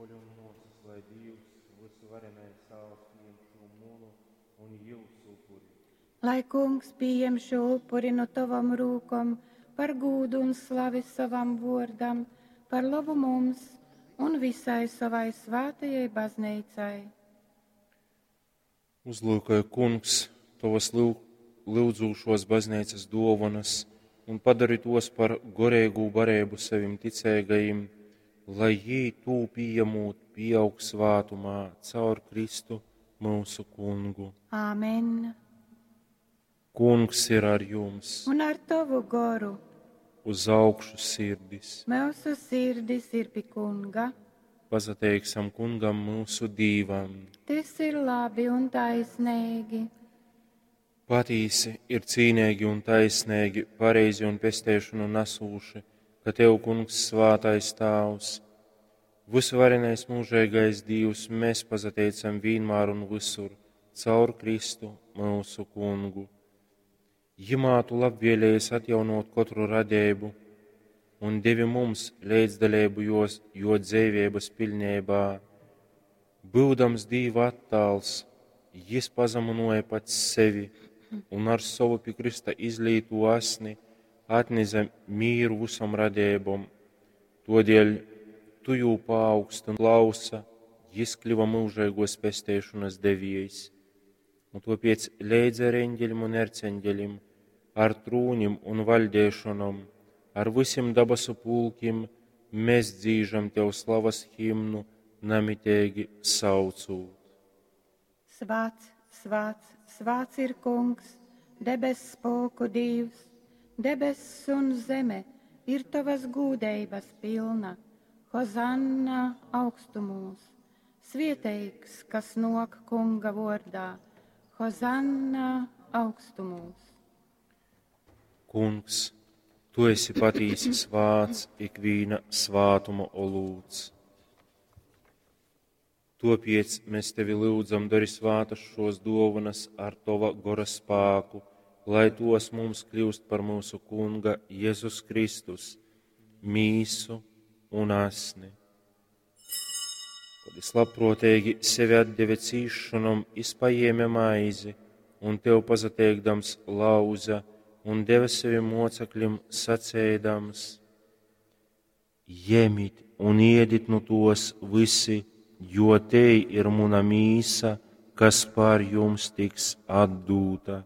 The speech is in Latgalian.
poļu un muosys, lai Dīvs, vysuvarenais Tāvs, pījem šū munu un jiusu upuri. Lai Kungs pījem šo upuri nu tovom rūkom par gūdu un slavi sovam vuordam, par lobu mums un visai sovai svātajai bazneicai. Uzlūkoj, Kungs, tovas lyudzūšuos bazneicas duovonas un padori tuos par goreigū bareibu sovim ticeigajim, lai jī tū pījamūt pīaug svātumā caur Kristu myusu Kungu. Āmen. Kungs ir ar jums. Un ar tovu goru. Uz augšu sirdis. Mūsu sirdis ir pi Kunga. Pasateiksim Kungam myusu Dīvam. Tas ir labi un taisnīgi. Patīsi ir cīnīgi un taisnīgi, pareizi un pesteišanu nesūši, ka Tev, Kungs, svātais Tāvs, vysuvarenais mūžīgais Dīvs, mēs pasateicam vienmēr un visur, caur Kristu mūsu Kungu. Jimā tu labvēlējies atjaunot katru radību un devi mums līdzdalību jos, jo dzīvības pilnībā. Būdams Dīva attāls, jis pazemoja pats sevi un ar savu pie Krista izlīto asni atneza mīru visam radībom. Todēļ tu jū paaugsti un klausa, jis kļuva mūžīgos pesteišanas devējs. Un topiec leidz ar eņģeļim un erceņģeļim, ar trūnim un vaļdēšanom, ar visiem dabasu pulkim, mēs dzīžam tev slavas himnu, namitīgi saucūt. Svāts, svāts, svāts ir Kungs, debess spulku Dīvs, debess un zeme ir tavas gūdeibas pilna. Hozanna augstumūs, svieteigs, kas nok Kunga vordā. Hozanna augstumūs. Kungs, tu esi patīsi svāts, ikvīna svātuma olūts. Topiec mēs tevi lūdzam, dari svātas šos dovanas ar tova gora spāku, lai tos mums kļūst par mūsu Kunga Jēzus Kristus, mīsu un asni. Kad es labprātīgi sevi atdeve cīšanom, es paēma maizi un tev pasateikdams lauza un deva sevi mocekļim sacēdams: Ņemit un iedit nu tos visi, jo te ir muna mīsa, kas pār jums tiks atdūta.